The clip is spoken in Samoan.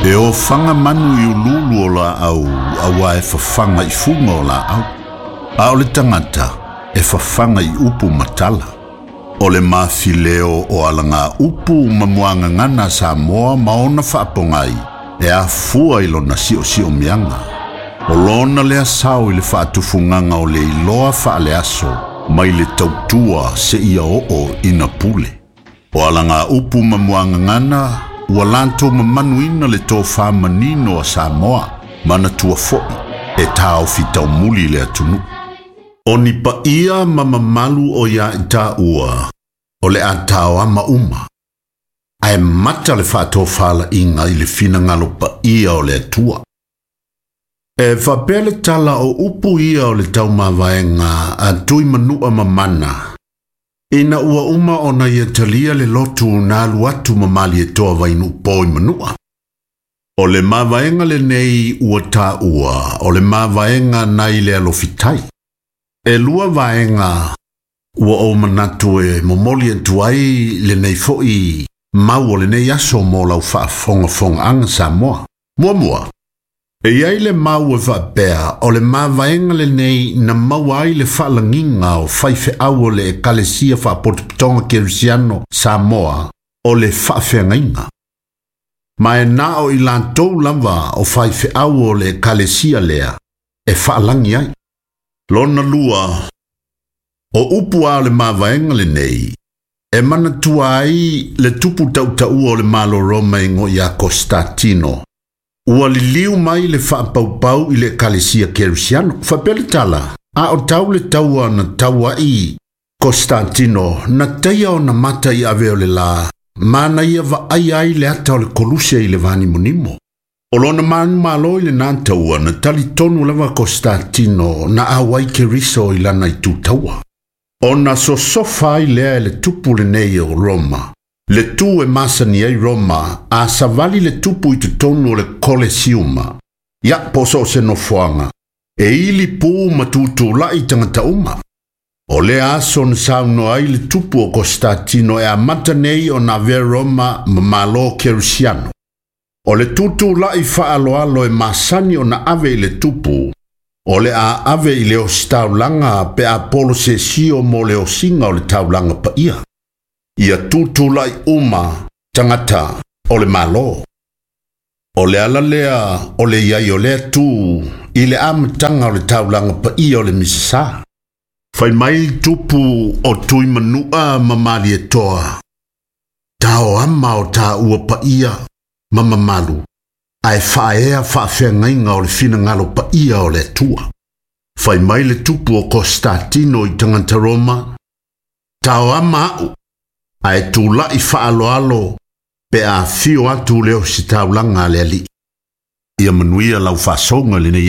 E ofaga manu i uluulu o laau auā e fafaga i fuga o laau, a o le tagata e fafaga i upu ma tala. O le mafileo o alagaupu ma muagagana a Samoa ma ona faapogai e afua i lona siosiomiaga. O lona lea sao i le faatufugaga o le iloa faaleaso mai le tautua seia oo ina pule. O alagaupu ma muagagana ua latou mamanuina le tofa manino a Samoa, manatua foi e taofi taumuli le atunuu. O ni paia ma mamalu o ia i taua, o le a taoama uma, ae mata le faatofalaiga i le finagalo paia o le Atua. E faapea le tala o upu ia o le taumavaega a Tuimanua Mamana, Ina ua uma ona ia talia le lotu na alu atu ma Malietoa Vainuupo i Manua. O le mavaega lenei ua taua o le mavaega nai le alofitai. E lua vaega ua ou manatu e momoli atu ai lenei foi mau o lenei aso mo lau faafogafogaaga Samoa. Muamua, E i ai le mau e faapea, o le mavaega lenei na maua ai le faalagiga o faifeau o le Ekalesia Faapotopotoga Kerisiano Samoa o le Faafeagaiga. Ma e na o i latou lava o faifeau o le Ekalesia lea e faalagi ai. Lona lua, o upu a o le mavaega lenei, e manatua ai le tupu tautaua o le Malo Roma e igoa ia Kostatino, Ua liliu mai le faapaupau i le Ekalesia Kerisiano. Faapea le tala, A o tau le taua na taua ai Kostatino, na taia ona mata i ave o le la, ma na ia vaaia ai le ata o le koluse i le vanimonimo. O lona manumalo i lena taua, na talitonu lava Kostatino na auai Keriso i lana itu taua. Ona sosofa ai lea e le tupu lenei o Roma, le tu e masani ai Roma, a savali le tupu i totonu o le Kolesiuma, ia, po o so o se nofoaga, e ili pū ma tutulai tagata uma. O lea aso na saunoa ai le tupu o Kostatino e amata nei ona avea Roma ma Malo Kerisiano. O le tutulai faaaloalo e masani ona ave i le tupu, o le a ave i le ositaulaga pe a polosesio mo le osiga o le taulaga paia. Ia tutulai uma tagata o le Malo. O le ala lea o le i ai o lea tu i le amataga o le taulaga paia o le Misasa. Fai mai tupu o Tuimanua ma Malietoa, Taoama o taua paia ma mamalu, ae faaea faafeagaiga o le finagalo paia o le Atua. Fai mai le tupu o Kostatino i tagata Roma, Taoama a'u, ae tula'i faaaloalo pe a afio atu le ositaulaga a le Alii. Ia manuia lau faasouga i lenei aso.